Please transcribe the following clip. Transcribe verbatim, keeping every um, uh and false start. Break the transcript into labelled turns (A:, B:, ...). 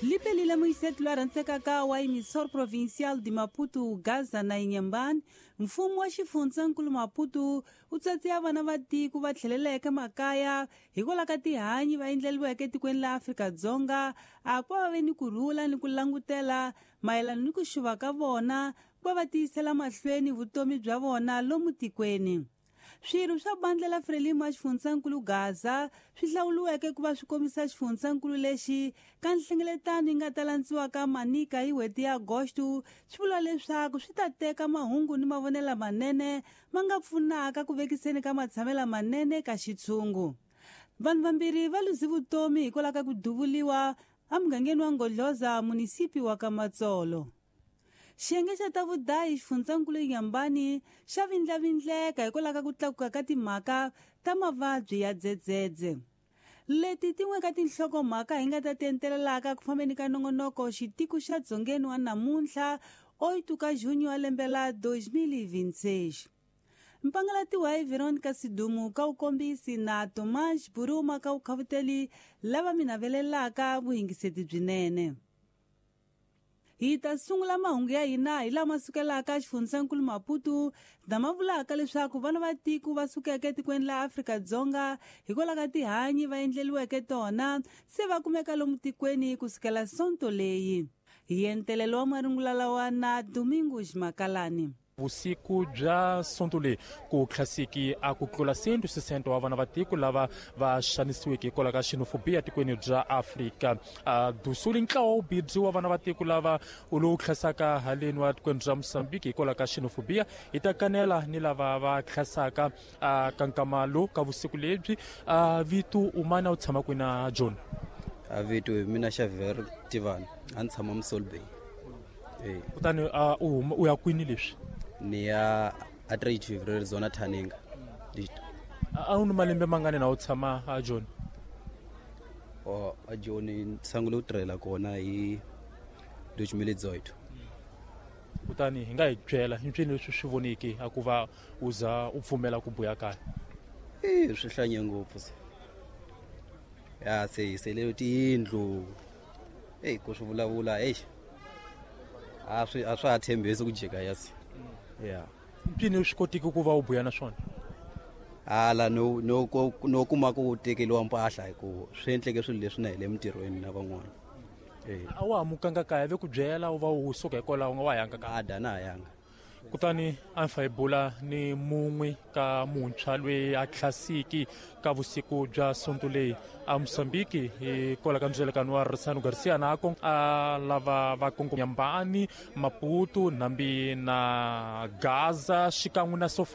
A: Lipelile muyisetu lwa rhandzekaka wa emissor provincial de Maputo, Gaza na Inhambane, mfumo wa xifundzankulu Maputo wu tsatsiya vana va tiko va tlheleleke makaya hikwalaho ka tihanyi va endleriweke etikweni la Afrika-Dzonga a ku va va ve ni kurhula ni ku langutela mayelana ni ku xuva ka vona ku va va tiyisela mahlweni vutomi bya vona lomu tikweni. Swirho swa bandla la Frelimo ya xifundzankulu Gaza swi hlawuriweke ku va swi kombisa xifundzankulu lexi ka nhlengeletano yi nga ta landziwaka Manica hi n'hweti ya Agosto swi vula leswaku swi ta teka mahungu ni mavonelo lamanene ma nga pfunaka ku vekiseni ka matshamelo lamanene ka xitshungu. Vanhu vambirhi va luze vutomi hikwalaho ka ku duvuliwa emugangeni wa Ngodloza, munisipi wa Kamatsolo. Xiyenge xa ta vudayi xifundzankulu Inhambane xa vindlavindleka hikwalaho ka ku tlakuka ka timhaka ta mavabyi ya dzedzedze. Leti tin'we ka tinhlokomhaka hi nga ta ti entelelaka ku fambeni ka nongonoko xitiko xa dzongeni wa namuntlha oito ka junho wa lembe la dois mil e vinte e seis. Mpangalatiwa hi Veronica Sidumu ka wukombisi na Tomás Buruma ka wukhavuteli lava mi navelelaka vuhingiseti byinene. Hi ta sungula mahungu ya hina hi lama sukelaka xifundzankulu Maputo lama vulaka leswaku vana va tiko va sukeke etikweni la Afrika-Dzonga hikwalaho ka tihanyi va endleriweke tona se va kumeka lomu tikweni kusukela sonto leyi. Hi entelelo wa marungula lawa na Domingos Makalani.
B: Vusiku bya sonto leyi ku tlhasiki a ku tlula cento sessenta wa vana va tiko lava va xanisiweke hikwalaho ka xenophobia tikweni bya Afrika. A dusuli ntlawa wu bidzi wa vana va tiko lava lowu tlhasaka haleni wa tikweni bya Mozambique hikwalaho ka xenophobia hi ta kanela ni lava va tlhasaka a ka nkama lowu ka vusiku lebyi. A vito u mana u tshama kwini na John?
C: A vito hi mina Xavier Tivani, a ni tshama Mossel Bay. Eh.
B: Kutani a u huma u ya kwini leswi?
C: Ni ya a trade February zona Thaninga.
B: A u ni malembe mangani na u tshama a John?
C: O a John ni sungule ku tirhela kona hi dois mil e dezoito.
B: Kutani hi nga hi byela hi mpfini leswi swi voneke a ku va u za u pfumela ku buya kaya?
C: Eh, swi hlanye ngopfu se. Ya se hi sele tiyindlu. Ey, ku swi vulavula, ey. A swi a swa ha tshembisi ku jika ya se. Ya.
B: Mpfini swi kotiki ku va u buya na swona?
C: Hala no no ko no kuma ku tekeriwa mpahla hi ku swi endleke swilo leswi na hi le mintirhweni na van'wana. Eh.
B: A wa ha mukanga kaya ve ku byela u va u suka hikwalaho u nga wa yanga kaya?
C: A da na ha yanga.
B: Kutani a ni fa hi bula ni mun'we ka muntshwa loyi a tlhasiki ka vusiku bya sonto leyi a Mozambique hi kwala ka ndzelekano wa Ressano Garcia na ko a lava va Inhambane, Maputo, Nambi na Gaza xikan'we na Sofala.